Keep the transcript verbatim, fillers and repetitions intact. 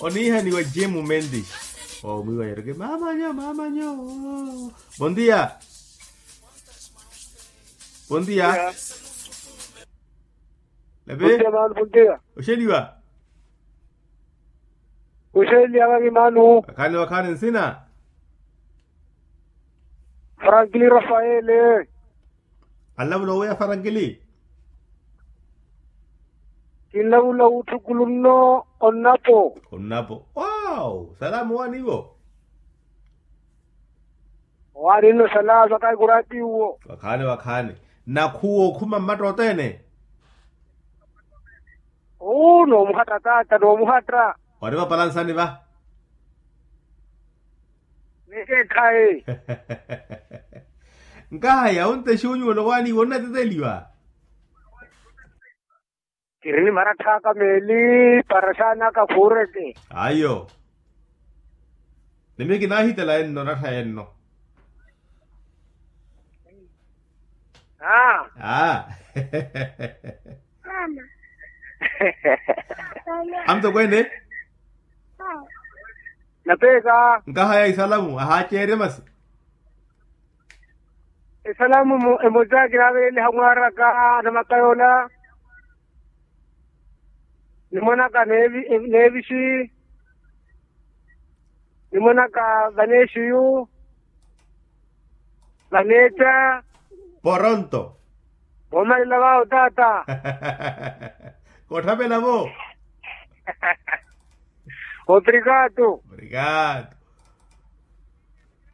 Oniihaniwa jemu mentis. Omwiiwa yeroke mamanyo mamanyo. Bondia. Bondia. Lepe. Oxeliwa. Oxeliwa vakimanu. Wakhaani wakhaani nsina. Frankili rafaele. Anlavula oweya farankili. Kinlavula wutthukulunno. Onnapo. Onnapo wow salamu waanivo. Owaninno salaaza kahi kuraatiwo. Wakhaani wakhaani. Nakhuwa okhuma mmatta othene. Uu noomuhatta taata noomuhatta. Wari vapalansani va. Nekeekhayi. Nkahaya onte xunyuwelo waaniwo onnateteliwa. Kiri ni maratthaka meeli para xaanaka khuureke. Ayo. Ni miyo kinaahitela enno rattha enno. Aa. Aa. Amutokweene. Napeeka. Nkahaya isalamu ahaaceerye masi. Esalamu emoza kinaaveleliha mwaaraka anamakayola. Nimwanaka neevisi. Nimwanaka vaneexiyu. Vaneetta. Poronto. Voomalela vaawo taata. Kotthavela vo. Obrigado. Obrigado.